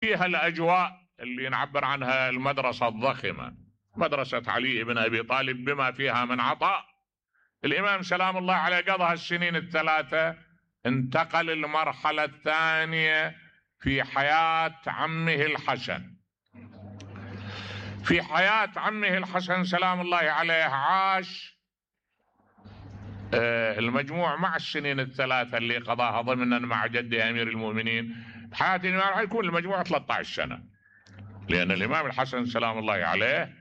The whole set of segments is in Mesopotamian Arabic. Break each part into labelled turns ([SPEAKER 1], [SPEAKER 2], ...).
[SPEAKER 1] فيها الأجواء اللي نعبر عنها المدرسة الضخمة، مدرسة علي بن أبي طالب بما فيها من عطاء. الإمام سلام الله عليه قضى هالسنين الثلاثة، انتقل للمرحلة الثانية في حياة عمه الحسن. في حياة عمه الحسن سلام الله عليه عاش المجموع مع السنين الثلاثة اللي قضاها ضمنا مع جده أمير المؤمنين. حياة الإمام راح يكون المجموع 13 سنة، لأن الإمام الحسن سلام الله عليه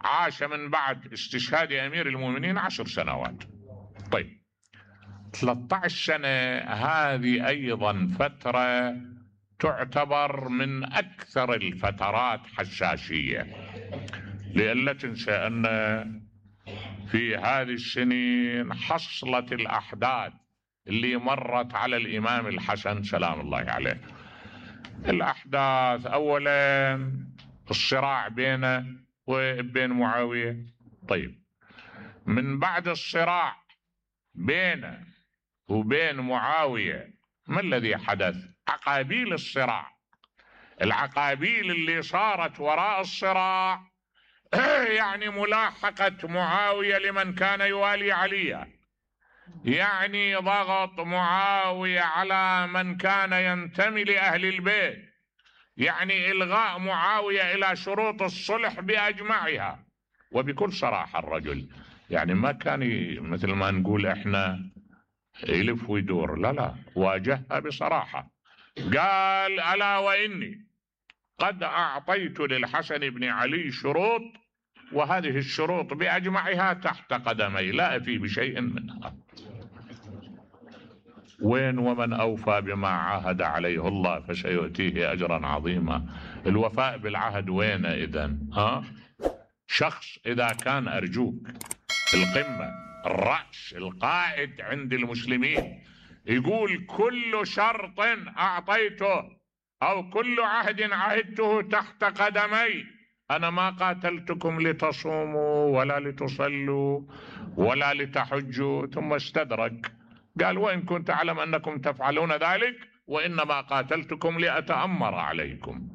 [SPEAKER 1] عاش من بعد استشهاد أمير المؤمنين 10 سنوات. طيب 13 سنة هذه أيضا فترة تعتبر من أكثر الفترات حساسية، لأن لا تنسى أن في هذه السنين حصلت الأحداث اللي مرت على الإمام الحسن سلام الله عليه. الأحداث أولا الصراع بينه وبين معاوية. طيب من بعد الصراع بينه وبين معاوية ما الذي حدث؟ عقابيل الصراع، العقابيل اللي صارت وراء الصراع يعني ملاحقة معاوية لمن كان يوالي عليا، يعني ضغط معاوية على من كان ينتمي لأهل البيت، يعني إلغاء معاوية إلى شروط الصلح بأجمعها. وبكل صراحة الرجل يعني ما كان مثل ما نقول إحنا يلف ويدور، لا واجهها بصراحة. قال ألا وإني قد أعطيت للحسن بن علي شروط، وهذه الشروط بأجمعها تحت قدمي لا أفي بشيء منها. وين ومن أوفى بما عاهد عليه الله فسيؤتيه أجرا عظيما. الوفاء بالعهد وين إذن؟ شخص إذا كان أرجوك القمة الرأس القائد عند المسلمين يقول كل شرط أعطيته أو كل عهد عهدته تحت قدمي، أنا ما قاتلتكم لتصوموا ولا لتصلوا ولا لتحجوا، ثم استدرك قال وإن كنت أعلم أنكم تفعلون ذلك وإنما قاتلتكم لأتأمر عليكم.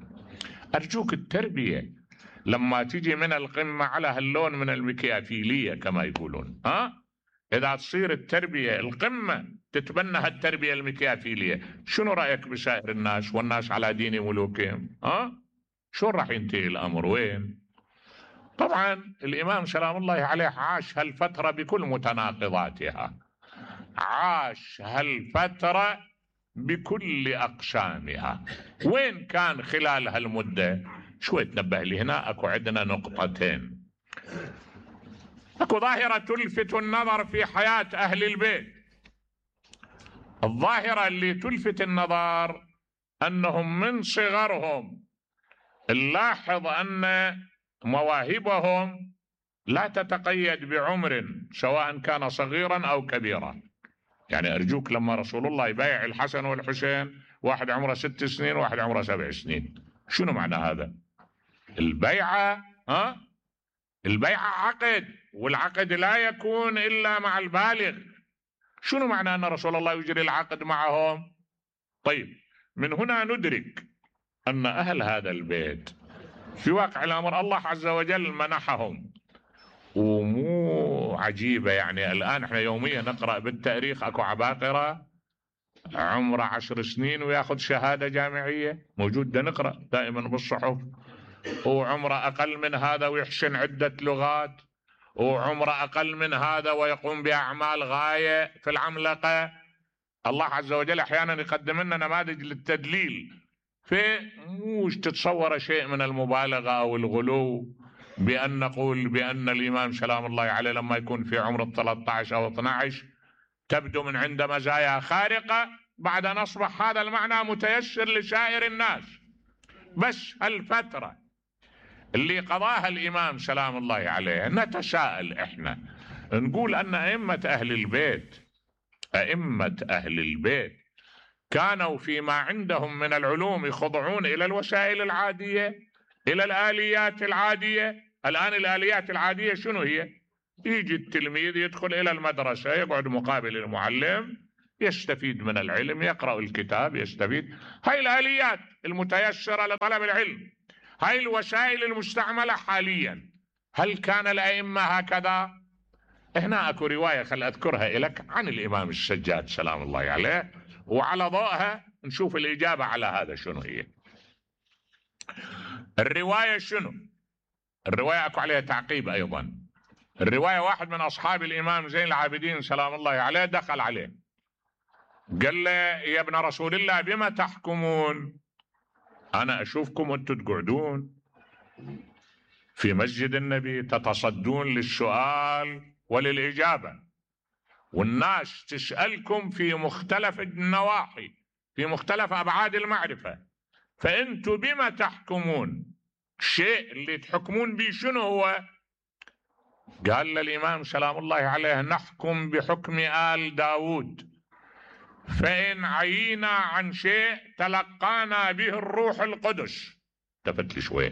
[SPEAKER 1] أرجوك التربية لما تجي من القمة على هاللون من المكيافيلية كما يقولون، إذا تصير التربية القمة تتبنى هالتربية المكيافيلية، شنو رأيك بسائر الناس والناس على دين ملوكهم؟ شو راح ينتهي الأمر؟ وين؟ طبعا الإمام سلام الله عليه عاش هالفترة بكل متناقضاتها، عاش هالفترة بكل أقسامها. وين كان خلال هالمدة؟ شوي تنبه لي هنا، أكو عندنا نقطتين. أكو ظاهرة تلفت النظر في حياة أهل البيت. الظاهرة اللي تلفت النظر أنهم من صغرهم نلاحظ أن مواهبهم لا تتقيد بعمر سواء كان صغيرا أو كبيرا. يعني أرجوك لما رسول الله يبايع الحسن والحسين واحد عمره 6 سنين واحد عمره 7 سنين، شنو معنى هذا؟ البيعة البيعة عقد، والعقد لا يكون إلا مع البالغ. شنو معنى أن رسول الله يجري العقد معهم؟ طيب من هنا ندرك أن أهل هذا البيت في واقع الأمر الله عز وجل منحهم، ومو عجيبة. يعني الآن احنا يوميا نقرأ بالتاريخ أكو عباقرة عمره 10 سنين وياخذ شهادة جامعية، موجود ده نقرأ دائما بالصحف. وعمره أقل من هذا ويحسن عدة لغات، وعمره أقل من هذا ويقوم بأعمال غاية في العملقة. الله عز وجل أحيانا يقدم لنا نماذج للتدليل، مش تتصور شيء من المبالغة أو الغلو بأن نقول بأن الإمام سلام الله عليه لما يكون في عمر 13 أو 12 تبدو من عنده مزايا خارقة، بعد أن أصبح هذا المعنى متيسر لسائر الناس. بس الفترة اللي قضاها الإمام سلام الله عليه نتساءل إحنا نقول أن أئمة أهل البيت كانوا فيما عندهم من العلوم يخضعون إلى الوسائل العادية، إلى الآليات العادية. الآن الآليات العادية شنو هي؟ يجي التلميذ يدخل إلى المدرسة يقعد مقابل المعلم يستفيد من العلم، يقرأ الكتاب يستفيد. هاي الآليات المتيسرة لطلب العلم، هاي الوسائل المستعملة حاليا. هل كان الأئمة هكذا؟ هنا اكو رواية خل اذكرها لك عن الامام السجاد سلام الله عليه، وعلى ضوءها نشوف الاجابة على هذا شنو هي. الرواية شنو؟ الرواية اكو عليها تعقيب ايضا. الرواية واحد من اصحاب الامام زين العابدين سلام الله عليه دخل عليه قال له يا ابن رسول الله بما تحكمون؟ انا اشوفكم انتم تقعدون في مسجد النبي تتصدون للسؤال وللإجابة، والناس تسألكم في مختلف النواحي في مختلف أبعاد المعرفة، فأنتم بما تحكمون؟ الشيء اللي تحكمون به شنو هو؟ قال للإمام سلام الله عليه نحكم بحكم آل داود، فإن عينا عن شيء تلقانا به الروح القدس. التفت لي شوي،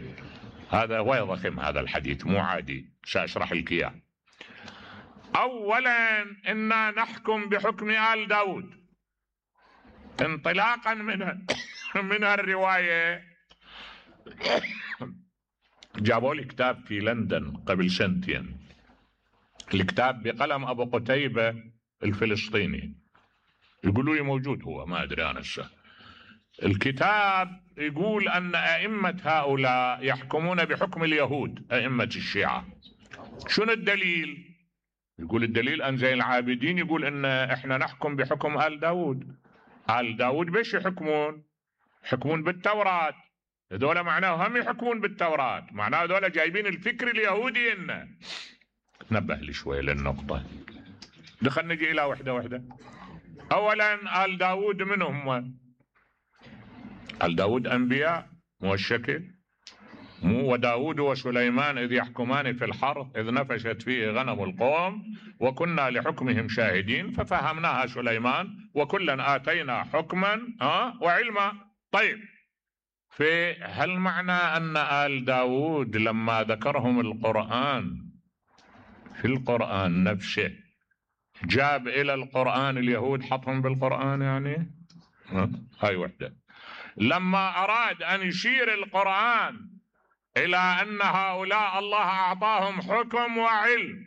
[SPEAKER 1] هذا هو ضخم هذا الحديث مو عادي، سأشرح لك إياه. أولا إنا نحكم بحكم آل داود انطلاقا من الرواية. جابوا لي كتاب في لندن قبل سنتين، الكتاب بقلم أبو قتيبة الفلسطيني، يقولوا لي موجود هو ما أدري أنا الكتاب يقول أن أئمة هؤلاء يحكمون بحكم اليهود أئمة الشيعة. شنو الدليل؟ يقول الدليل أن زين العابدين يقول إن إحنا نحكم بحكم آل داود. آل داود بيش يحكمون؟ يحكمون بالتوراة. هذول معناه هم يحكمون بالتوراة، معناه هذول جايبين الفكر اليهودي إنه. نبه لي شوي للنقطة، دخل نجي إلى وحدة وحدة. أولا آل داود من هم؟ آل داود أنبياء مو الشكل، مو وداود وسليمان إذ يحكمان في الحرث إذ نفشت فيه غنم القوم وكنا لحكمهم شاهدين ففهمناها سليمان وكلا آتينا حكما وعلما. طيب، هل معنى أن آل داود لما ذكرهم القرآن في القرآن نفسه جاب إلى القرآن اليهود حطهم بالقرآن يعني؟ هاي وحدة. لما أراد أن يشير القرآن إلى أن هؤلاء الله أعطاهم حكم وعلم،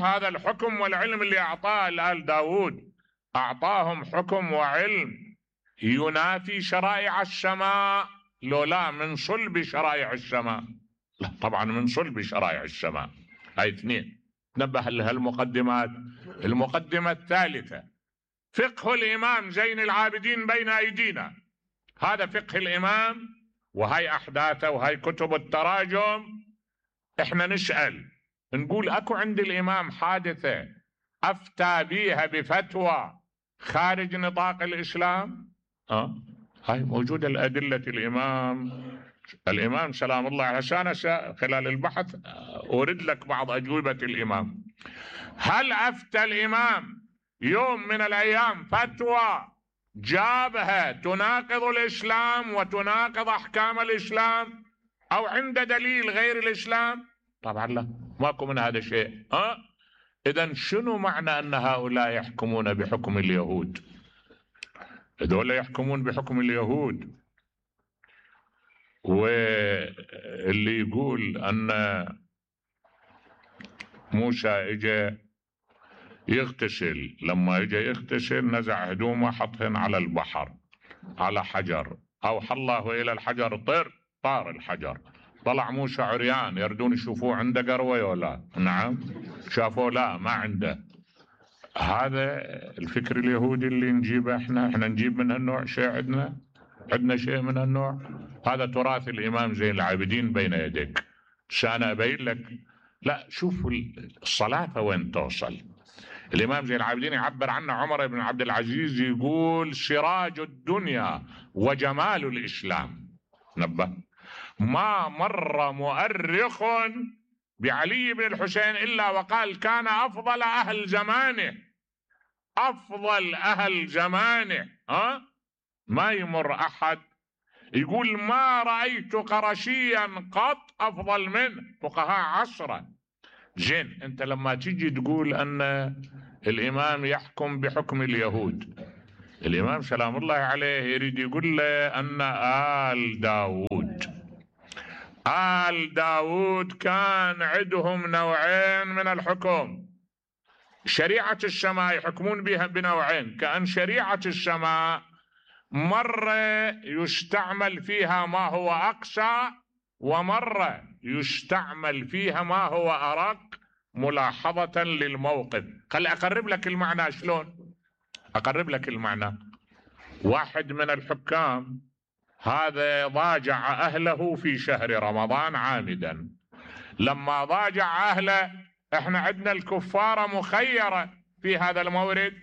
[SPEAKER 1] هذا الحكم والعلم اللي أعطاه لآل داود أعطاهم حكم وعلم ينافي شرائع السماء، لو لا من صلب شرائع السماء؟ لا طبعا من صلب شرائع السماء. هاي اثنين. نبه لها المقدمات. المقدمة الثالثة فقه الإمام زين العابدين بين أيدينا، هذا فقه الإمام وهي أحداثه وهي كتب التراجم. احنا نسأل نقول اكو عند الإمام حادثة أفتى بيها بفتوى خارج نطاق الإسلام؟ هاي موجودة الأدلة. الإمام سلام الله عليه خلال البحث أورد لك بعض أجوبة الإمام. هل أفتى الإمام يوم من الأيام فتوى جابها تناقض الإسلام وتناقض أحكام الإسلام أو عند دليل غير الإسلام؟ طبعا لا، ماكو من هذا شيء. إذن شنو معنى أن هؤلاء يحكمون بحكم اليهود؟ هذول يحكمون بحكم اليهود، واللي يقول أن موسى اجى يغتسل، لما اجى يغتسل نزع هدومه حطهن على البحر على حجر، أوحى الله إلى الحجر طار الحجر، طلع موسى عريان، يردون يشوفوه عنده قروة ولا؟ نعم شافوه لا ما عنده. هذا الفكر اليهودي اللي نجيبه احنا نجيب من هالنوع شيء؟ عندنا شيء من هالنوع؟ هذا تراث الإمام زين العابدين بين يديك. أنا أبين لك. لا شوف الصلاة وين توصل. الإمام زين العابدين يعبر عنه عمر بن عبد العزيز، يقول سراج الدنيا وجمال الإسلام. نبه، ما مر مؤرخ بعلي بن الحسين إلا وقال كان أفضل أهل زمانه، أفضل أهل زمانه. ما يمر أحد يقول ما رأيت قرشيا قط أفضل منه، فقهاء عصره. زين، أنت لما تيجي تقول أن الإمام يحكم بحكم اليهود. الإمام سلام الله عليه يريد يقول له أن آل داود كان عندهم نوعين من الحكم. شريعة السماء يحكمون بها بنوعين، كأن شريعة السماء مرة يستعمل فيها ما هو أقسى، ومرة يستعمل فيها ما هو أرق ملاحظة للموقف. خلي أقرب لك المعنى. شلون أقرب لك المعنى؟ واحد من الحكام هذا ضاجع أهله في شهر رمضان عامدا. لما ضاجع أهله، احنا عندنا الكفارة مخيرة في هذا المورد،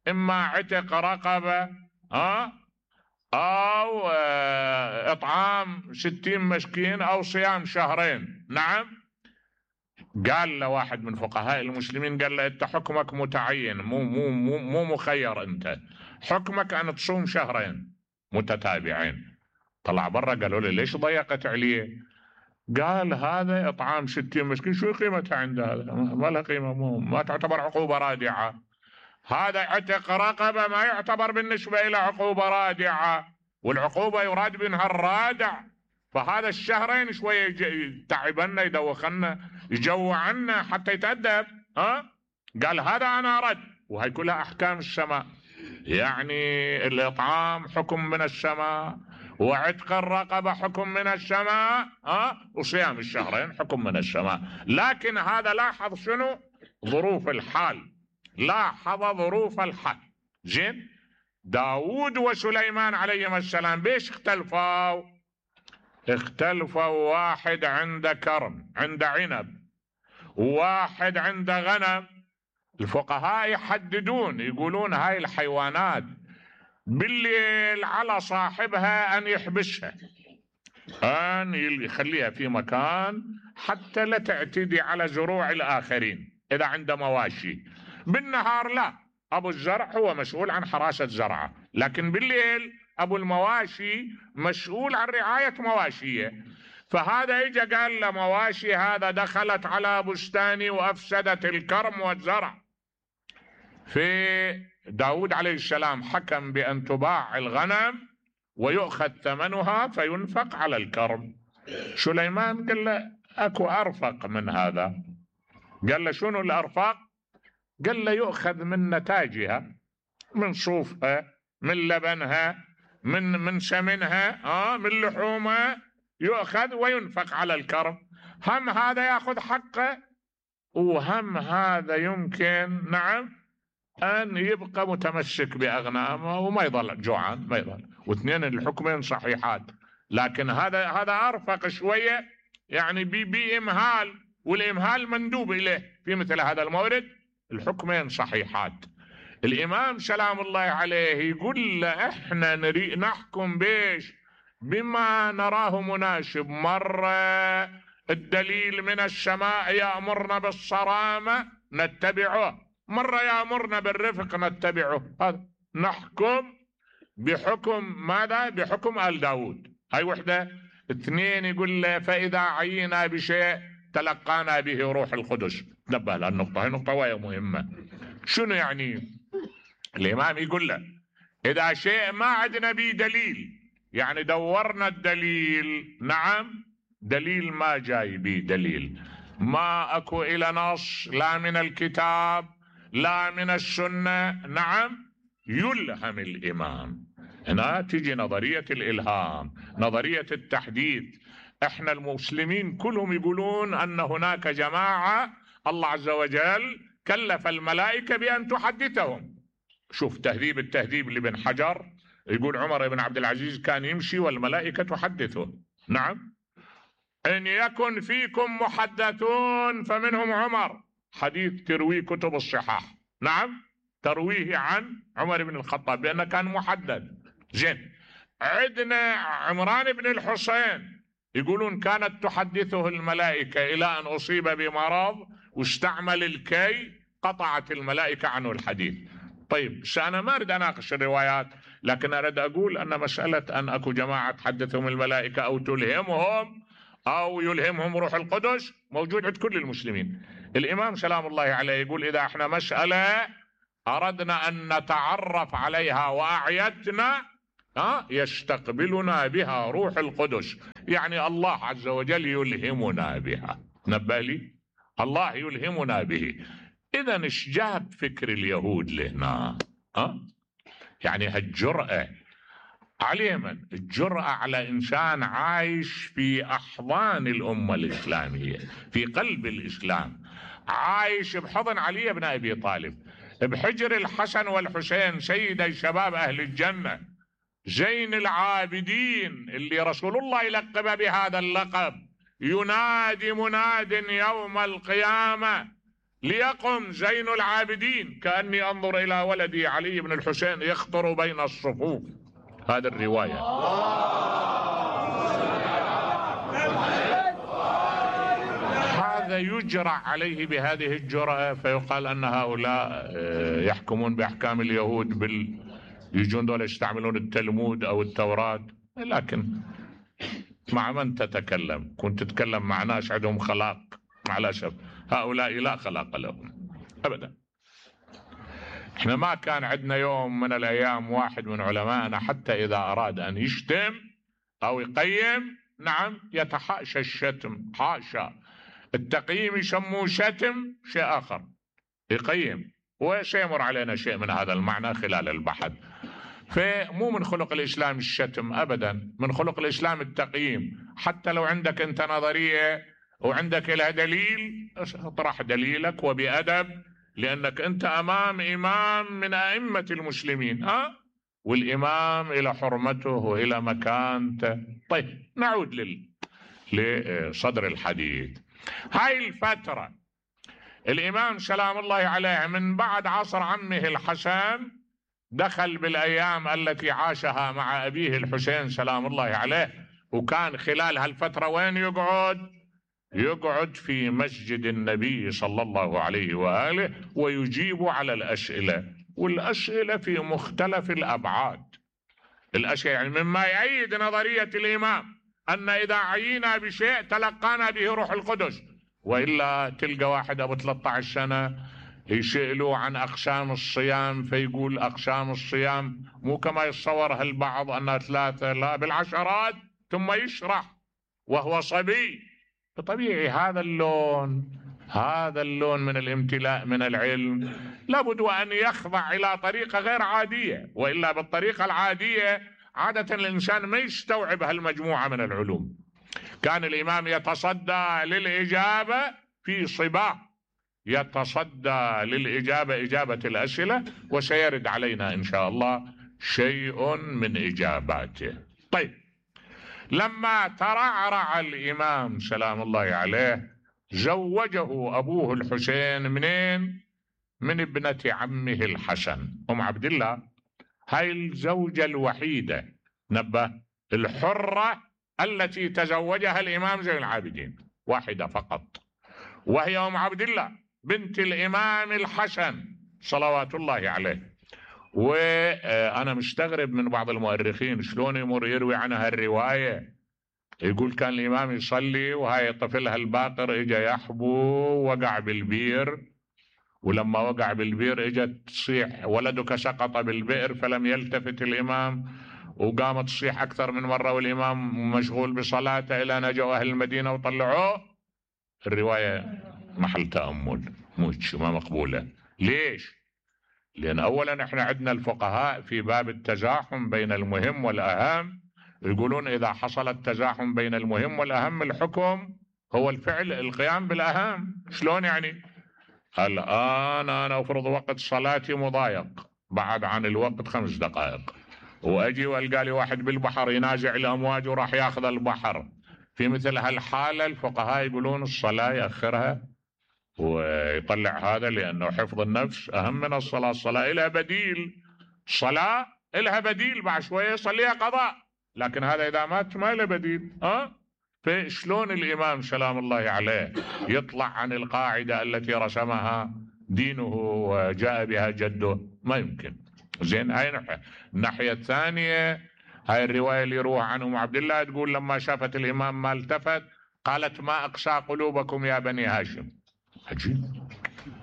[SPEAKER 1] إما عتق رقبة أو إطعام 60 مسكين أو صيام شهرين. نعم. قال له واحد من فقهاء المسلمين، قال له أنت حكمك متعين، مو مخير، أنت حكمك أن تصوم شهرين متتابعين. طلع برا، قالوا له ليش ضيقت عليه؟ قال هذا إطعام 60 مسكين شو قيمتها عند هذا؟ ما له قيمة، ما تعتبر عقوبة رادعة. هذا عتق رقبة ما يعتبر بالنسبة إلى عقوبة رادعة، والعقوبة يراد منها الرادع. فهذا الشهرين شوية تعبنا، يدوخنا، يجوعنا حتى يتأدب. قال هذا أنا أرد. وهي كلها أحكام السماء، يعني الإطعام حكم من السماء، وعتق الرقبة حكم من السماء، وصيام الشهرين حكم من السماء. لكن هذا لاحظ شنو؟ ظروف الحال. لاحظ ظروف الحال. زين. داود وسليمان عليهما السلام بيش اختلفوا؟ واحد عنده كرم، عنده عنب، وواحد عنده غنم. الفقهاء يحددون، يقولون هاي الحيوانات بالليل على صاحبها أن يحبسها، أن يخليها في مكان حتى لا تعتدي على زروع الآخرين إذا عنده مواشي. بالنهار لا، أبو الزرع هو مسؤول عن حراسة زرعه، لكن بالليل أبو المواشي مسؤول عن رعاية مواشيه. فهذا إجا قال له مواشي هذا دخلت على بستاني وأفسدت الكرم والزرع. في داود عليه السلام حكم بأن تباع الغنم ويؤخذ ثمنها فينفق على الكرم. سليمان قال له أكو أرفق من هذا. قال له شنو الأرفق؟ قال له يؤخذ من نتاجها، من صوفها، من لبنها، من سمنها، من لحومها، يؤخذ وينفق على الكرم. هم هذا يأخذ حقه، وهم هذا يمكن نعم أن يبقى متمسك بأغنامه وما يظل جوعان، ما يظل. واثنين الحكمين صحيحات، لكن هذا أرفق شوية، يعني بإمهال، والإمهال مندوب إليه في مثل هذا المورد. الحكمين صحيحات. الإمام سلام الله عليه يقول له احنا نحكم بيش بما نراه مناسب. مرة الدليل من السماء يأمرنا بالصرامة نتبعه، مرة يأمرنا بالرفق نتبعه. هذا نحكم بحكم ماذا؟ بحكم آل داود. هاي وحدة. اثنين يقول له فإذا عينا بشيء تلقانا به روح القدس. نبه للنقطة، هاي نقطة وهي مهمة. شنو يعني؟ الإمام يقول له إذا شيء ما عندنا به دليل، يعني دورنا الدليل، نعم، دليل ما جاي به دليل، ما أكو إلى نص لا من الكتاب لا من السنة، نعم، يلهم الإمام. هنا تيجي نظرية الإلهام، نظرية التحديث. احنا المسلمين كلهم يقولون أن هناك جماعة الله عز وجل كلف الملائكة بأن تحدثهم. شوف تهذيب التهذيب لابن حجر، يقول عمر بن عبد العزيز كان يمشي والملائكة تحدثه. نعم. إن يكن فيكم محدثون فمنهم عمر، حديث ترويه كتب الصحاح. نعم، ترويه عن عمر بن الخطاب بأنه كان محدث. زين. عندنا عمران بن الحسين يقولون كانت تحدثه الملائكة إلى أن أصيب بمرض واستعمل الكي، قطعت الملائكة عنه الحديث. طيب أنا ما أريد أناقش الروايات، لكن أريد أقول أن مسألة أن أكو جماعة تحدثهم الملائكة أو تلهمهم أو يلهمهم روح القدس موجود عند كل المسلمين. الإمام سلام الله عليه يقول إذا احنا مسألة أردنا أن نتعرف عليها وأعيتنا يستقبلنا بها روح القدس، يعني الله عز وجل يلهمنا بها. نبه لي، الله يلهمنا به. إذا ايش جاب فكر اليهود لهنا؟ يعني هالجرأة على من؟ الجرأة على إنسان عايش في أحضان الأمة الإسلامية، في قلب الإسلام، عايش بحضن علي بن أبي طالب، بحجر الحسن والحسين سيدي شباب أهل الجنة، زين العابدين اللي رسول الله يلقب بهذا اللقب. ينادي مناد يوم القيامة ليقم زين العابدين كأني أنظر إلى ولدي علي بن الحسين يخطر بين الصفوف. هذه الرواية. هذا يجرع عليه بهذه الجرأة، فيقال أن هؤلاء يحكمون بأحكام اليهود يجون دول يستعملون التلمود أو التوراة. لكن مع من تتكلم؟ كنت تتكلم مع ناس عندهم خلاق، مع الأسف هؤلاء لا خلاق لهم أبدا. احنا ما كان عندنا يوم من الأيام واحد من علمائنا حتى إذا أراد أن يشتم أو يقيم، نعم، يتحاشى الشتم، حاشا. التقييم يسموه شتم، شيء آخر يقيم، وسيمر علينا شيء من هذا المعنى خلال البحث. فمو من خلق الإسلام الشتم أبدا، من خلق الإسلام التقييم. حتى لو عندك أنت نظرية وعندك لها دليل، اطرح دليلك وبأدب، لأنك أنت أمام إمام من أئمة المسلمين، والإمام إلى حرمته وإلى مكانته. طيب نعود لصدر الحديث. هاي الفترة الإمام سلام الله عليه من بعد عصر عمه الحسن دخل بالأيام التي عاشها مع أبيه الحسين سلام الله عليه، وكان خلال هالفترة وين يقعد في مسجد النبي صلى الله عليه وآله ويجيب على الأسئلة، والأسئلة في مختلف الأبعاد. الأسئلة يعني مما يؤيد نظرية الإمام أن إذا عينا بشيء تلقانا به روح القدس، وإلا تلقى واحد أبو 13 سنة يسألوا عن أقسام الصيام فيقول أقسام الصيام مو كما يتصورها البعض أنها 3، لا بالعشرات، ثم يشرح وهو صبي. طبيعي هذا اللون من الامتلاء من العلم لابد أن يخضع إلى طريقة غير عادية، وإلا بالطريقة العادية عادة الإنسان ما يستوعب هالمجموعة من العلوم. كان الإمام يتصدى للإجابة في صباه، يتصدى للإجابة، إجابة الأسئلة، وسيرد علينا إن شاء الله شيء من إجاباته. طيب، لما ترعرع الإمام سلام الله عليه زوجه أبوه الحسين منين؟ من ابنة عمه الحسن أم عبد الله. هاي الزوجة الوحيدة، نبه، الحرة التي تزوجها الإمام زين العابدين واحدة فقط، وهي أم عبد الله بنت الإمام الحسن صلوات الله عليه. وأنا مستغرب من بعض المؤرخين شلون يمر يروي عنها الرواية، يقول كان الإمام يصلي وهاي طفلها الباقر إجا يحبو وقع بالبير، ولما وقع بالبير إجت تصيح ولدك سقط بالبئر، فلم يلتفت الإمام وقامت تصيح أكثر من مرة والإمام مشغول بصلاته إلى نجوا أهل المدينة وطلعوه. الرواية محل تأمل، ما مقبولة. ليش؟ لأن أولا احنا عندنا الفقهاء في باب التزاحم بين المهم والأهم يقولون إذا حصل التزاحم بين المهم والأهم الحكم هو الفعل القيام بالأهم. شلون يعني؟ الآن أنا أفرض وقت صلاتي مضايق بعد عن الوقت 5 دقائق، وأجي وألقى لي واحد بالبحر ينازع الأمواج وراح ياخذ البحر. في مثل هالحالة الفقهاء يقولون الصلاة يأخرها ويطلع هذا، لأنه حفظ النفس أهم من الصلاة. الصلاة إلها بديل، صلاة إلها بديل، بعد شوية يصليها قضاء، لكن هذا إذا مات ما له بديل. فشلون الإمام سلام الله عليه يطلع عن القاعدة التي رسمها دينه وجاء بها جده؟ ما يمكن. زين، هاي الناحية الثانية، هاي الرواية اللي يروها عنه أم عبد الله تقول لما شافت الإمام ما التفت قالت ما أقسى قلوبكم يا بني هاشم. عجيب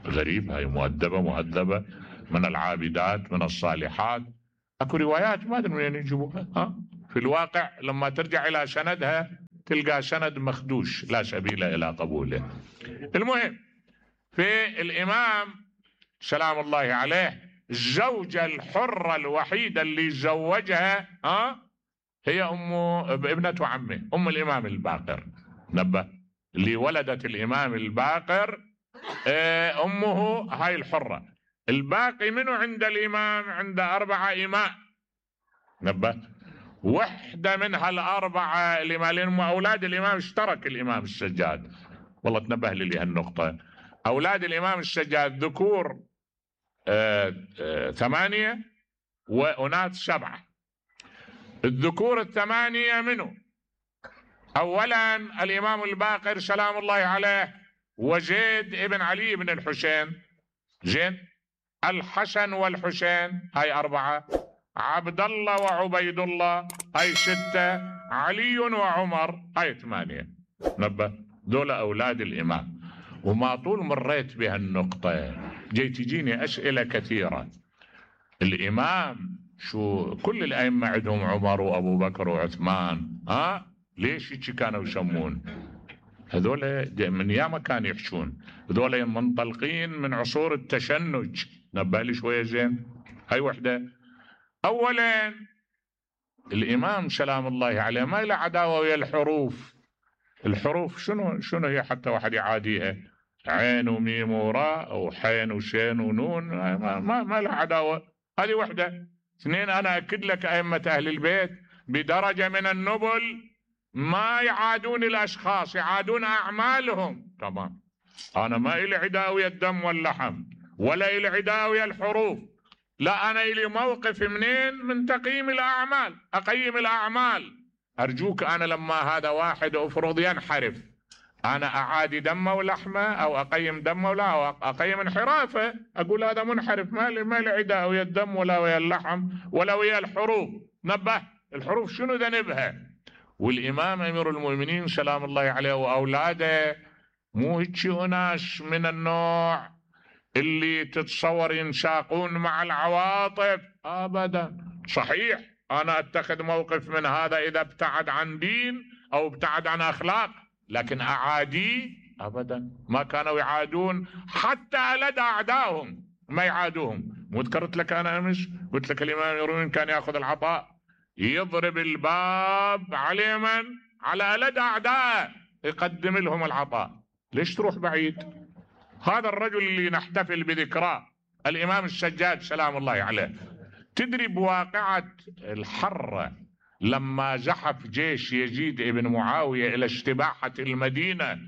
[SPEAKER 1] غريب، هاي مؤدبة من العابدات من الصالحات. اكو روايات ما ادري من وين يجيبوها، في الواقع لما ترجع الى سندها تلقى سند مخدوش لا سبيل الى قبوله. المهم في الامام سلام الله عليه الزوجة الحرة الوحيدة اللي زوجها هي ابنة عمه الامام الباقر. نبه، اللي ولدت الامام الباقر امه هاي الحرة. الباقي منه عند الامام عند 4 إماء. نبه، وحدة من هالأربعة اللي مالين أولاد الإمام اشترك الإمام السجاد. والله تنبه لي هالنقطة. أولاد الإمام السجاد ذكور 8 وأناث 7. الذكور 8 منه أولا الإمام الباقر سلام الله عليه وزيد ابن علي بن الحسين، زين، الحسن والحسين هاي 4، عبد الله وعبيد الله هاي 6، علي وعمر هاي 8. نبه، دول أولاد الإمام. وما طول مريت بهالنقطة تجيني أسئلة كثيرة. الإمام شو كل الأئمة عندهم عمر وأبو بكر وعثمان، ليش هيك كانوا يسمون؟ هذول من ياما كانوا يحشون، هذول منطلقين من عصور التشنج. نبه لي شوية زين. هاي وحدة. أولا الإمام سلام الله عليه ما له عداوة ويا الحروف. الحروف شنو هي حتى واحد يعاديها؟ عين وميم وراء أو حين وشين ونون، ما له عداوة. هذه وحدة. 2 أنا أكد لك أئمة أهل البيت بدرجة من النبل ما يعادون الأشخاص، يعادون أعمالهم. تمام. أنا ما إلي عداوة ويا الدم واللحم ولا إلي عداوة ويا الحروف، لا، أنا إلي موقف منين؟ من تقييم الأعمال. أقيم الأعمال. أرجوك أنا لما هذا واحد أفرض ينحرف أنا أعادي دمه ولحمه أو أقيم دمه ولا أو أقيم انحرافه، أقول هذا منحرف، ما لي عداء ويا الدم ولا ويا اللحم ولا ويا الحروف. نبه، الحروف شنو ذنبها؟ والإمام أمير المؤمنين سلام الله عليه وأولاده مو هيك أناس من النوع اللي تتصور ينساقون مع العواطف أبدا. صحيح أنا أتخذ موقف من هذا إذا ابتعد عن دين أو ابتعد عن أخلاق، لكن أعاديه أبدا. ما كانوا يعادون حتى لدى أعدائهم، ما يعادوهم. مو ذكرت لك أنا أمس قلت لك الإمام يروين كان يأخذ العطاء يضرب الباب على من؟ على لدى أعدائه يقدم لهم العطاء. ليش تروح بعيد؟ هذا الرجل اللي نحتفل بذكراه الإمام السجاد سلام الله عليه، تدري بواقعة الحرة لما زحف جيش يزيد ابن معاوية إلى استباحة المدينة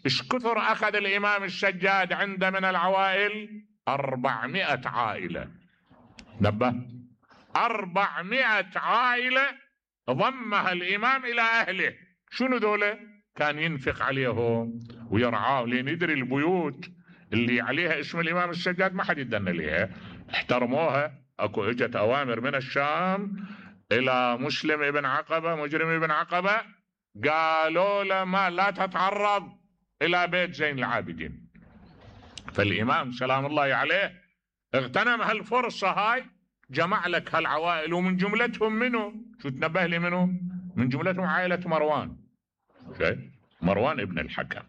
[SPEAKER 1] إيش كثر أخذ الإمام السجاد عنده من العوائل؟ 400 عائلة. نبه، 400 عائلة ضمها الإمام إلى أهله. شنو ذولا؟ كان ينفق عليهم ويرعاهم، لين يدري البيوت اللي عليها اسم الإمام السجاد ما حد يدن لها، احترموها. اكو اجت اوامر من الشام الى مسلم ابن عقبة مجرم ابن عقبة، قالوا له ما لا تتعرض الى بيت زين العابدين. فالامام سلام الله عليه اغتنم هالفرصة هاي، جمع لك هالعوائل، ومن جملتهم منه شو تنبه لي منه؟ من جملتهم عائلة مروان. مروان ابن الحكم،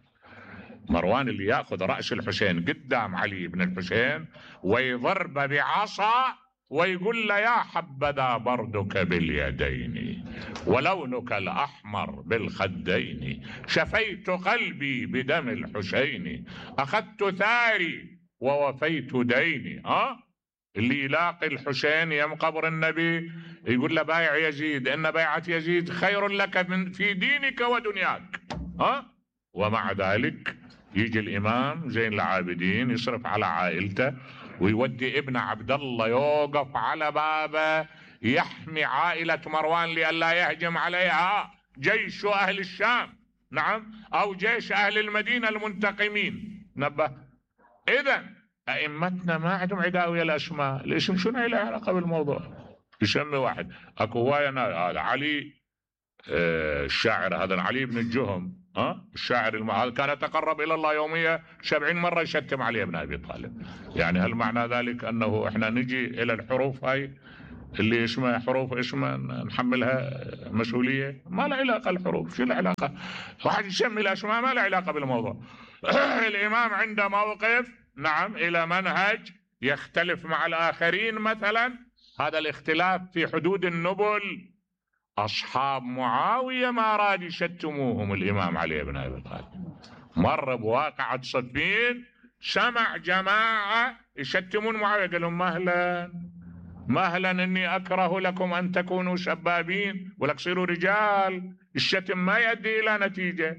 [SPEAKER 1] مروان اللي ياخذ رأس الحسين قدام علي بن الحسين ويضرب بعصا ويقول له يا حبذا بردك باليدين ولونك الأحمر بالخدين، شفيت قلبي بدم الحسين، أخذت ثاري ووفيت ديني. اللي يلاقي الحسين يم قبر النبي يقول له بايع يزيد، إن بيعة يزيد خير لك في دينك ودنياك. ومع ذلك يجي الإمام زين العابدين يصرف على عائلته ويودي ابن عبد الله يوقف على بابه يحمي عائلة مروان لئلا يهجم عليها جيش أهل الشام، نعم، أو جيش أهل المدينة المنتقمين. نبه، إذا أئمتنا ما عندهم عداء ويا الأسماء. الاسم شنو له علاقة بالموضوع؟ يسمي واحد، أكو هواية علي الشاعر هذا علي بن الجهم، الشاعر هذا كان يتقرب الى الله يوميا 70 مرة يشتم علي بن ابي طالب. يعني هل معنى ذلك انه احنا نجي الى الحروف هاي اللي اسمها حروف اسمها نحملها مسؤولية؟ ما له علاقة الحروف، شو العلاقة؟ واحد يسمي الاسماء ما له علاقة بالموضوع. الامام عنده موقف نعم الى منهج يختلف مع الاخرين، مثلا هذا الاختلاف في حدود النبل. اصحاب معاوية ما راد يشتموهم الامام علي بن ابي طالب، مر بواقعة صفين سمع جماعة يشتمون معاوية، قال لهم مهلا مهلا اني اكره لكم ان تكونوا سبابين ولك صيروا رجال. الشتم ما يؤدي الى نتيجة،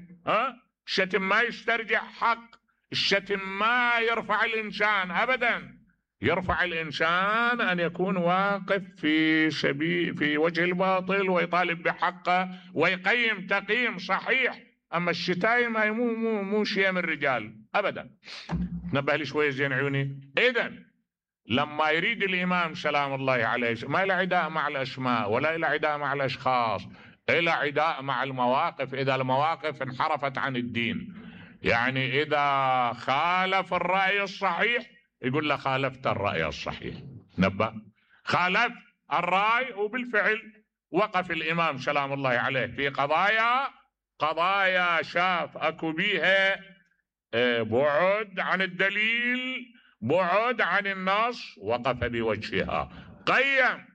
[SPEAKER 1] الشتم ما يسترجع حق، الشتم ما يرفع الانسان ابدا. يرفع الانسان ان يكون واقف في وجه الباطل ويطالب بحقه ويقيم تقييم صحيح. اما الشتايم هاي مو شيء من الرجال ابدا. نبه لي شويه زين عيوني. اذا لما يريد الامام سلام الله عليه ما له عداء مع الاسماء ولا له عداء مع الاشخاص، له عداء مع المواقف. اذا المواقف انحرفت عن الدين، يعني اذا خالف الراي الصحيح يقول له خالفت الراي الصحيح. نبه خالف الراي، وبالفعل وقف الامام سلام الله عليه في قضايا شاف اكو بيها بعد عن الدليل، بعد عن النص، وقف بوجهها قيم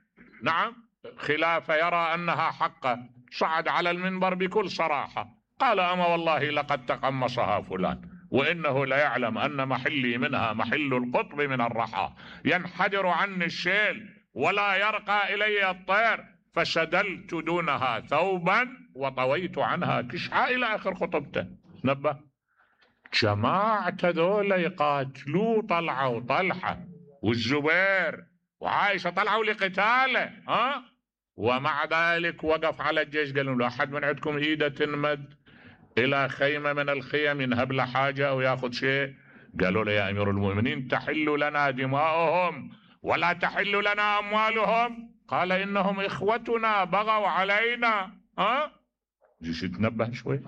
[SPEAKER 1] نعم خلاف يرى انها حقه. صعد على المنبر بكل صراحة قال اما والله لقد تقمصها فلان وانه ليعلم ان محلي منها محل القطب من الرحى، ينحدر عني الشيل ولا يرقى الي الطير، فشدلت دونها ثوبا وطويت عنها كشحا الى اخر خطبته. نبه جماعة ذولا يقاتلوا طلعة وطلحة والزبير وعائشة طلعوا لقتاله، ومع ذلك وقف على الجيش قال لهم لا احد من عندكم ايده تنمد الى خيمة من الخيم ينهب له حاجة او ياخذ شيء. قالوا له يا امير المؤمنين تحل لنا دماؤهم ولا تحل لنا اموالهم. قال انهم اخوتنا بغوا علينا. جيش تنبه شوي.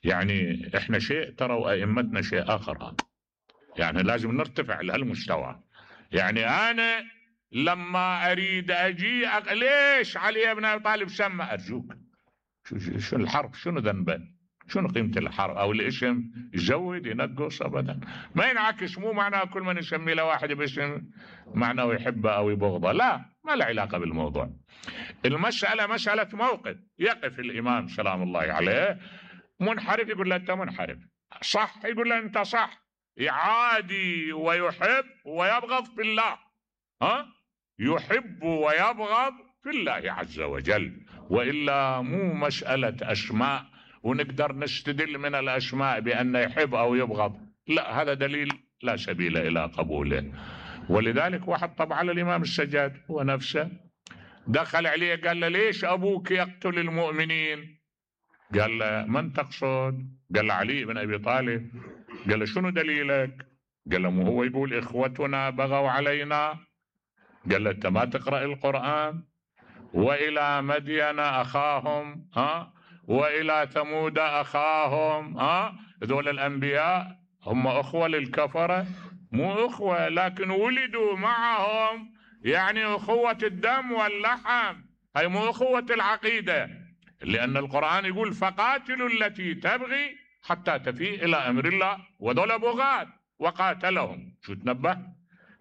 [SPEAKER 1] يعني احنا شيء ترى وائمتنا شيء اخر، يعني لازم نرتفع لهالمستوى. يعني انا لما اريد اجي ليش علي بن ابي طالب سمى؟ ارجوك شو الحرب؟ شنو ذنبه؟ شنو قيمة الحرب او الاسم؟ يزود ينقص ابدا ما ينعكس. مو معناه كل من يسمي له واحد باسم معناه يحبه او يبغضه، لا، ما له علاقة بالموضوع. المسألة مسألة موقف. يقف الامام سلام الله عليه منحرف يقول له انت منحرف، صح يقول له انت صح، يعادي ويحب ويبغض في الله، يحب ويبغض في الله عز وجل. وإلا مو مسألة أسماء ونقدر نستدل من الأسماء بأن يحب أو يبغض، لا، هذا دليل لا سبيل إلى قبوله. ولذلك واحد طبع على الإمام السجاد هو نفسه، دخل عليه قال له ليش أبوك يقتل المؤمنين؟ قال له من تقصد؟ قال له علي بن أبي طالب. قال له شنو دليلك؟ قال له هو يقول إخوتنا بغوا علينا. قال له أنت ما تقرأ القرآن؟ وإلى مدين أخاهم وإلى ثمود أخاهم، ذول الأنبياء هم أخوة للكفرة؟ مو أخوة، لكن ولدوا معهم، يعني أخوة الدم واللحم، هي مو أخوة العقيدة. لأن القرآن يقول فقاتلوا التي تبغي حتى تفيء إلى أمر الله، وذول بغاة وقاتلهم. شو تنبه؟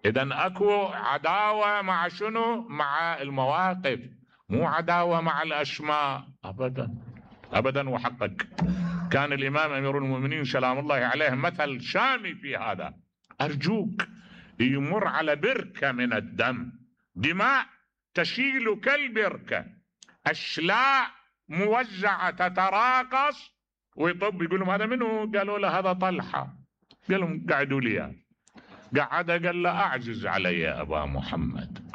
[SPEAKER 1] إذن أكو عداوة مع شنو؟ مع المواقف، مو عداوة مع الأسماء أبدا أبدا. وحقك كان الإمام أمير المؤمنين سلام الله عليه مثل شامي في هذا. أرجوك يمر على بركة من الدم، دماء تشيل كالبركة، أشلاء موزعة تتراقص، ويطب يقول لهم هذا منو؟ قالوا له هذا طلحة. قال لهم قعدوا لي. قعد قال له أعجز علي يا أبا محمد،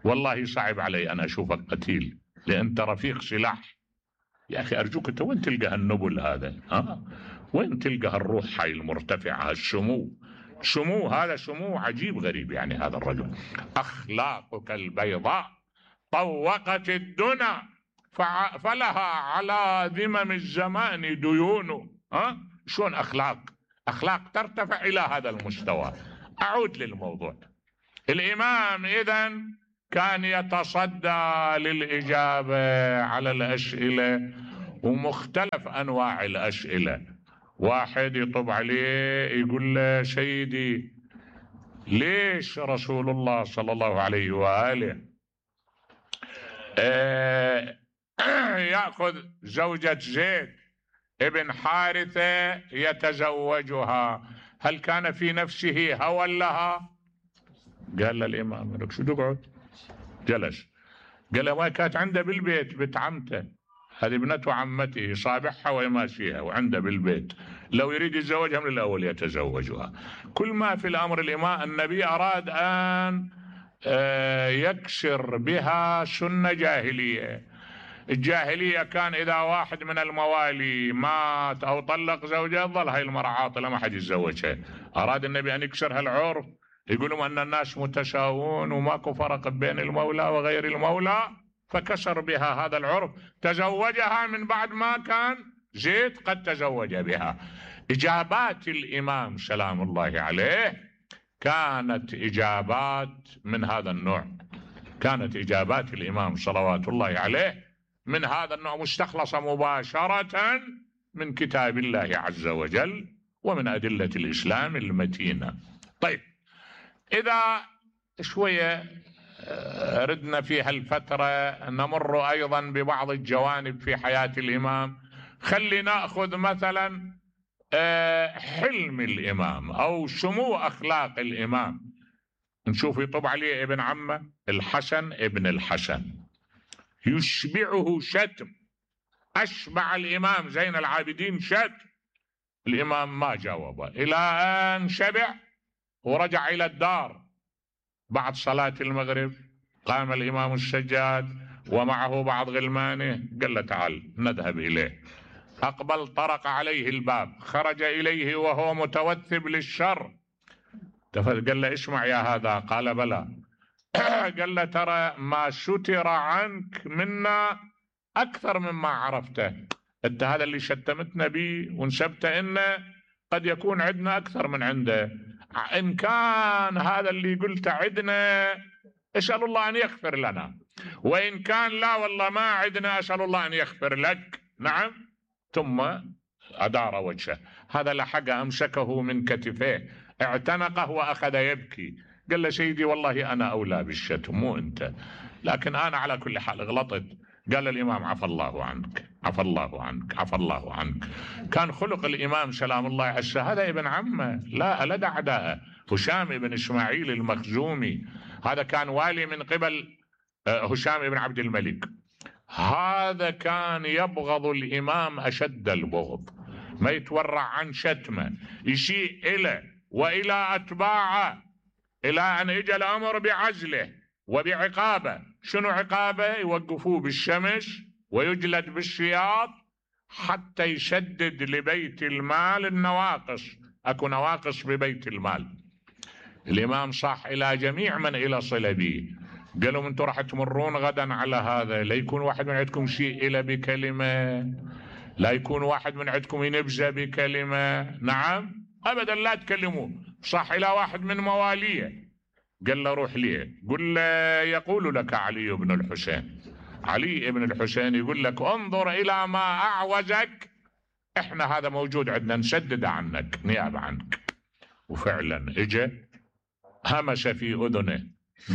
[SPEAKER 1] والله صعب علي أن أشوفك قتيل لأنت رفيق سلاح. يا أخي أرجوك أنت وين تلقى النبل هذا؟ وين تلقى الروح هاي المرتفعة، السمو هذا سمو عجيب غريب. يعني هذا الرجل أخلاقك البيضاء طوقت الدنا فلها على ذمم الزمان ديون. شلون أخلاق ترتفع إلى هذا المستوى. أعود للموضوع. الإمام إذن كان يتصدى للإجابة على الأسئلة ومختلف أنواع الأسئلة. واحد يطب عليه يقول له سيدي ليش رسول الله صلى الله عليه وآله يأخذ زوجة زيد ابن حارثة يتزوجها؟ هل كان في نفسه هوى لها؟ قال له الإمام لك شو تقعد؟ جلس. قال له ما كانت عنده بالبيت بنت عمته، هذه ابنته عمته صابحها ويماشيها وعنده بالبيت، لو يريد يتزوجها من الأول يتزوجها. كل ما في الأمر الإمام النبي أراد أن يكسر بها سنة جاهلية. الجاهلية كان إذا واحد من الموالي مات أو طلق زوجه ظل هاي المرأة عاطلة ما حد يتزوجها. أراد النبي أن يكسر هالعرف، يقولون أن الناس متساوون وماكو فرق بين المولى وغير المولى، فكسر بها هذا العرف، تزوجها من بعد ما كان زيد قد تزوج بها. إجابات الإمام سلام الله عليه كانت إجابات من هذا النوع، كانت إجابات الإمام صلوات الله عليه من هذا النوع، مستخلصة مباشرة من كتاب الله عز وجل ومن أدلة الإسلام المتينة. طيب، إذا شوية ردنا في هالفترة نمر أيضا ببعض الجوانب في حياة الإمام. خلي نأخذ مثلا حلم الإمام أو سمو أخلاق الإمام. نشوف يطب عليه ابن عمه الحسن ابن الحسن يشبعه شتم، أشبع الإمام زين العابدين شتم، الإمام ما جاوبه إلى أن شبع ورجع إلى الدار. بعد صلاة المغرب قام الإمام السجاد ومعه بعض غلمانه، قال له تعال نذهب إليه. أقبل طرق عليه الباب، خرج إليه وهو متوثب للشر. قال له اسمع يا هذا، قال بلى. قال له ترى ما ستر عنك منا أكثر مما عرفته، أنت هذا اللي شتمتنا به ونسبته إنه قد يكون عندنا أكثر من عنده. إن كان هذا اللي قلت عندنا أسأل الله أن يغفر لنا، وإن كان لا والله ما عندنا أسأل الله أن يغفر لك. نعم. ثم أدار وجهه. هذا لحق أمسكه من كتفيه اعتنقه وأخذ يبكي. قال له سيدي والله أنا أولى بالشتم مو أنت، لكن أنا على كل حال غلطت. قال الإمام عفى الله عنك عفى الله عنك عفى الله عنك. كان خلق الإمام سلام الله عليه. هذا ابن عمه لا لدى أعداءه، هشام بن إسماعيل المخزومي، هذا كان والي من قبل هشام بن عبد الملك. هذا كان يبغض الإمام أشد البغض، ما يتورع عن شتمه، يشيء إليه وإلى أتباعه، إلى أن إجى الأمر بعزله وبعقابه. شنو عقابه؟ يوقفوه بالشمس ويجلد بالسياط حتى يسدد لبيت المال النواقص. أكو نواقص ببيت المال. الإمام صح إلى جميع من إلى صلة به، قالوا انتم راح تمرون غدا على هذا، لا يكون واحد من عندكم شيء إلى بكلمة، لا يكون واحد من عندكم ينبذ بكلمة. نعم أبدا لا تكلموه. صح إلى واحد من مواليه قال له روح ليه، قل له يقول لك علي بن الحسين، علي بن الحسين يقول لك انظر إلى ما أعوزك، احنا هذا موجود عندنا نسدد عنك نيابة عنك. وفعلا اجى همس في أذنه،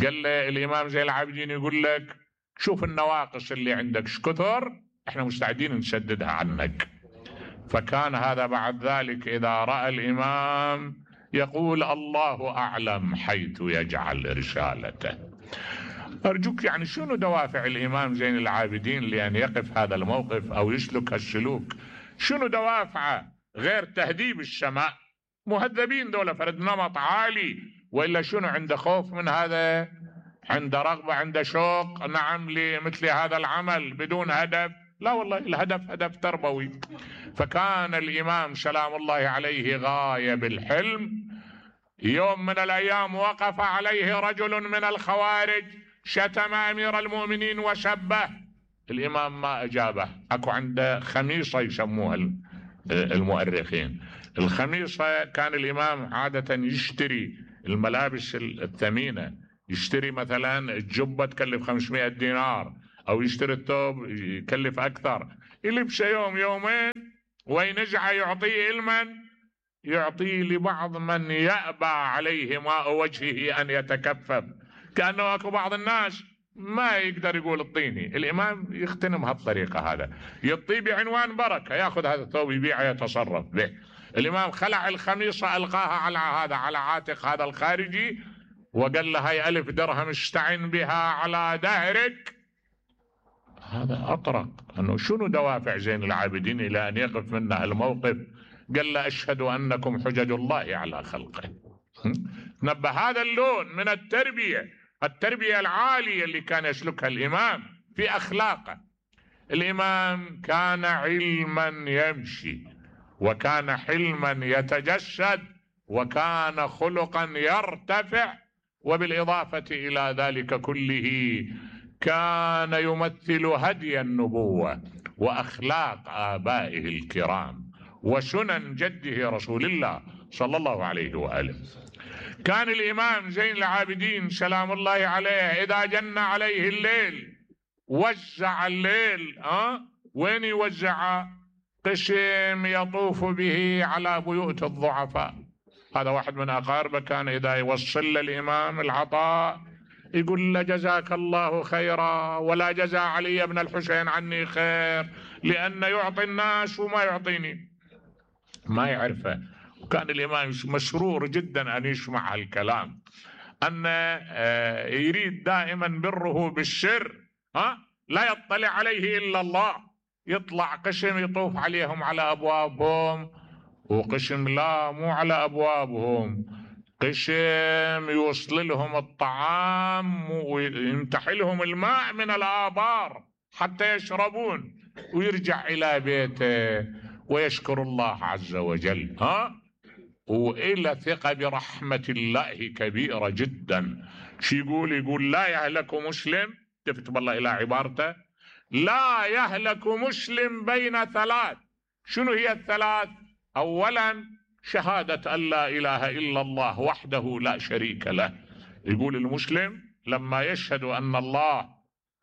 [SPEAKER 1] قال له الإمام زين العابدين يقول لك شوف النواقص اللي عندك شكثر، احنا مستعدين نسددها عنك. فكان هذا بعد ذلك إذا رأى الإمام يقول الله أعلم حيث يجعل رسالته. أرجوك يعني شنو دوافع الإمام زين العابدين لأن يقف هذا الموقف أو يسلك هالسلوك؟ شنو دوافعه غير تهذيب السماء؟ مهذبين دولة فرد نمط عالي، وإلا شنو عنده خوف من هذا؟ عنده رغبة، عنده شوق نعم لمثل هذا العمل بدون هدف؟ لا والله الهدف هدف تربوي. فكان الإمام سلام الله عليه غاية بالحلم. يوم من الأيام وقف عليه رجل من الخوارج شتم أمير المؤمنين وسبه، الإمام ما أجابه. أكو عنده خميصة يسموها المؤرخين. الخميصة كان الإمام عادة يشتري الملابس الثمينة، يشتري مثلا الجبة تكلف 500 دينار، أو يشتري الثوب يكلف أكثر، يلبسه يوم يومين وينزعه يعطيه لمن؟ يعطيه لبعض من يأبى عليه ماء وجهه أن يتكفف. كأنه أكو بعض الناس ما يقدر يقول اعطيني، الإمام يختنم هالطريقة، هذا يعطيه بعنوان بركة، يأخذ هذا الثوب يبيعه يتصرف به. الإمام خلع الخميصة ألقاها على عاتق هذا الخارجي، وقال له هاي 1000 درهم استعن بها على دهرك. هذا أطرق أنه شنو دوافع زين العابدين إلى أن يقف منا الموقف. قال له أشهد أنكم حجج الله على خلقه. نبه هذا اللون من التربية العالية اللي كان يسلكها الإمام في أخلاقه. الإمام كان علما يمشي، وكان حلما يتجسد، وكان خلقا يرتفع، وبالإضافة إلى ذلك كله كان يمثل هدي النبوة وأخلاق آبائه الكرام وسنن جده رسول الله صلى الله عليه وآله. كان الإمام زين العابدين سلام الله عليه إذا جن عليه الليل وزع الليل. وين يوزع؟ قسم يطوف به على بيوت الضعفاء. هذا واحد من أقاربه كان إذا يوصل للإمام العطاء يقول له جزاك الله خيرا، ولا جزا علي بن الحسين عني خير، لأن يعطي الناس وما يعطيني، ما يعرفه. وكان الإمام مسرور جدا أن يسمع هالكلام، أن يريد دائما بره بالسر، لا يطلع عليه إلا الله. يطلع قسم يطوف عليهم على أبوابهم، وقسم لا مو على أبوابهم، قسم يوصل لهم الطعام ويمتح لهم الماء من الآبار حتى يشربون، ويرجع إلى بيته ويشكر الله عز وجل. وإلى ثقة برحمة الله كبيرة جدا. شو يقول لا يهلك مسلم، تفت بالله إلى عبارته، لا يهلك مسلم بين ثلاث. شنو هي الثلاث؟ أولا شهادة أن لا إله إلا الله وحده لا شريك له. يقول المسلم لما يشهد أن الله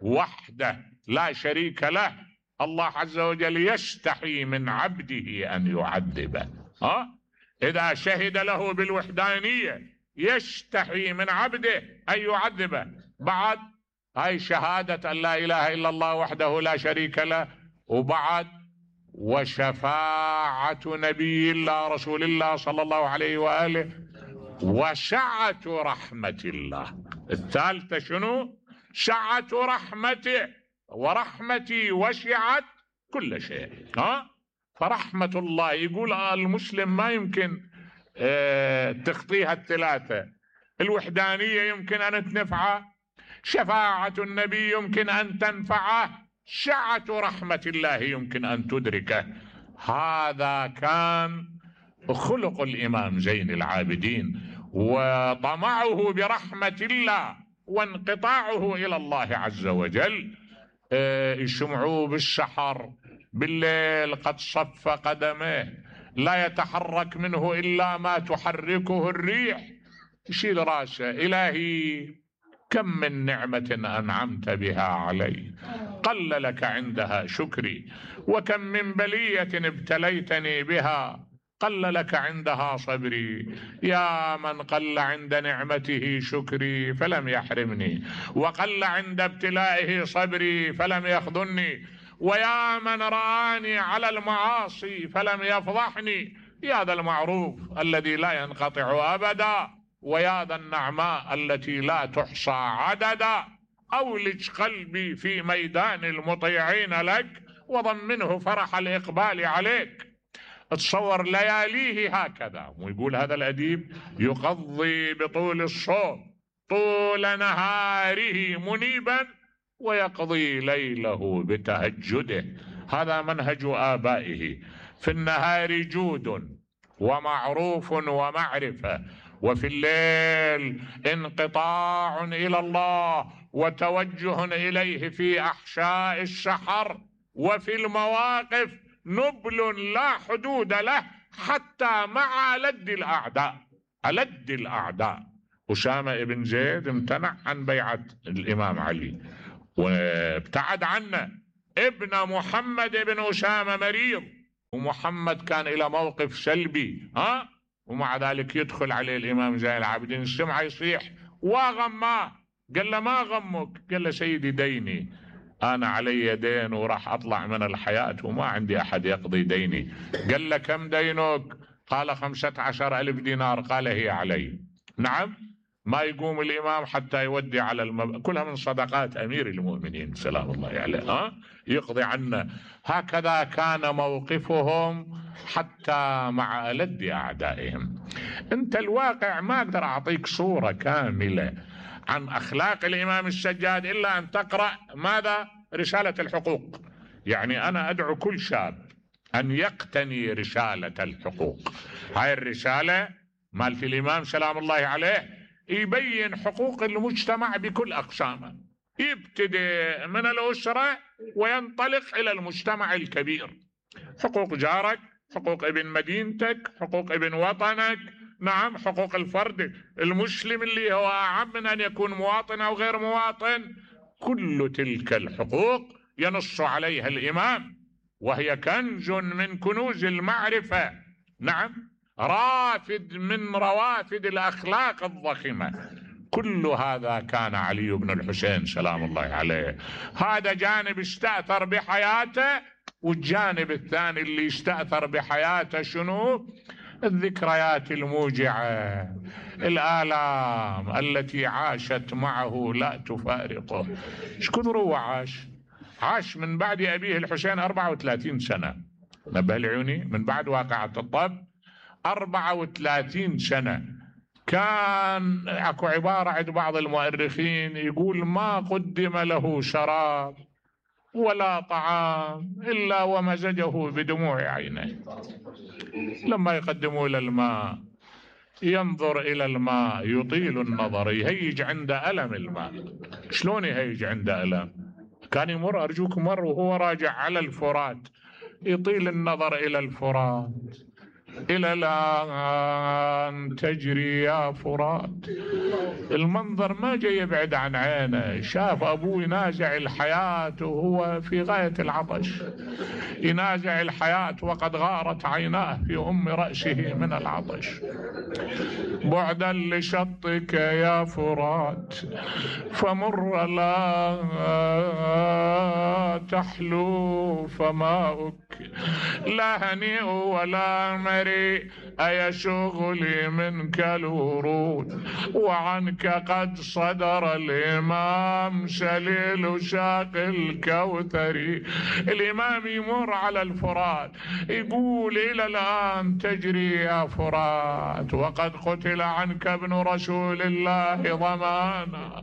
[SPEAKER 1] وحده لا شريك له، الله عز وجل يستحي من عبده أن يعذبه. إذا شهد له بالوحدانية يستحي من عبده أن يعذبه. بعد هاي شهادة أن لا إله إلا الله وحده لا شريك له، وبعد وشفاعة نبي الله رسول الله صلى الله عليه وآله، وسعة رحمة الله. الثالثة شنو؟ سعة رحمته، ورحمتي وسعت كل شيء. فرحمة الله، يقول المسلم ما يمكن تخطيها الثلاثة. الوحدانية يمكن أن تنفعه، شفاعة النبي يمكن أن تنفعه، سعة رحمة الله يمكن أن تدركه. هذا كان خلق الإمام زين العابدين، وطمعه برحمة الله وانقطاعه إلى الله عز وجل. يسمعوه بالسحر بالليل قد صف قدمه، لا يتحرك منه إلا ما تحركه الريح. يشيل راسه، إلهي كم من نعمة أنعمت بها علي قل لك عندها شكري، وكم من بلية ابتليتني بها قل لك عندها صبري. يا من قل عند نعمته شكري فلم يحرمني، وقل عند ابتلائه صبري فلم يخذلني، ويا من رآني على المعاصي فلم يفضحني. يا ذا المعروف الذي لا ينقطع أبدا، ويا ذا النعماء التي لا تحصى عددا. أولج قلبي في ميدان المطيعين لك، وضمنه فرح الإقبال عليك. تصور لياليه هكذا. ويقول هذا الأديب يقضي بطول الصوم طول نهاره منيبا، ويقضي ليله بتهجده. هذا منهج آبائه. في النهار جود ومعروف ومعرفة، وفي الليل انقطاع إلى الله وتوجه إليه في أحشاء الشحر وفي المواقف نبل لا حدود له، حتى مع ألد الأعداء. ألد الأعداء. أسامة بن زيد امتنع عن بيعة الإمام علي وابتعد عنه. ابن محمد بن أسامة مريض، ومحمد كان إلى موقف سلبي، ومع ذلك يدخل عليه الإمام زين العابدين، السمعة يصيح وغماه. قال له ما غمك؟ قال له سيدي ديني، أنا علي دين وراح أطلع من الحياة وما عندي أحد يقضي ديني. قال له كم دينك؟ قال 15,000 دينار. قال هي علي. نعم. ما يقوم الإمام حتى يودي على كلها من صدقات أمير المؤمنين سلام الله عليه، يقضي عنه. هكذا كان موقفهم حتى مع ألد أعدائهم. أنت الواقع ما أقدر أعطيك صورة كاملة عن أخلاق الإمام السجاد إلا أن تقرأ ماذا؟ رسالة الحقوق. يعني أنا أدعو كل شاب أن يقتني رسالة الحقوق. هاي الرسالة مالت الإمام سلام الله عليه يبين حقوق المجتمع بكل أقسامه، يبتدئ من الأسرة وينطلق إلى المجتمع الكبير. حقوق جارك، حقوق ابن مدينتك، حقوق ابن وطنك، نعم، حقوق الفرد المسلم اللي هو أعم من أن يكون مواطن أو غير مواطن. كل تلك الحقوق ينص عليها الإمام، وهي كنز من كنوز المعرفة، نعم، رافد من روافد الأخلاق الضخمة. كل هذا كان علي بن الحسين سلام الله عليه. هذا جانب استأثر بحياته، والجانب الثاني اللي استأثر بحياته شنو؟ الذكريات الموجعة، الآلام التي عاشت معه لا تفارقه. شكون هو عاش من بعد أبيه الحسين 34 سنة. نبه العيوني، من بعد واقعة الطب 34 سنة. كان اكو عبارة عند بعض المؤرخين يقول ما قدم له شراب ولا طعام إلا ومزجه بدموع عينيه. لما يقدموا إلى الماء ينظر إلى الماء يطيل النظر، يهيج عند ألم الماء. شلون يهيج عند ألم؟ كان يمر، أرجوك، مر وهو راجع على الفرات، يطيل النظر إلى الفرات، إلى الآن تجري يا فرات. المنظر ما جاي يبعد عن عينه. شاف أبوه ينازع الحياة وهو في غاية العطش، ينازع الحياة وقد غارت عيناه في أم رأسه من العطش. بعدا لشطك يا فرات فمر لا تحلو فماؤك، لا هنيء ولا مريء أي شغلي منك الورود، وعنك قد صدر الإمام سليل شاق الكوثري. الإمام يمر على الفرات يقول إلى الآن تجري يا فرات وقد قتل عنك ابن رسول الله ضمانا.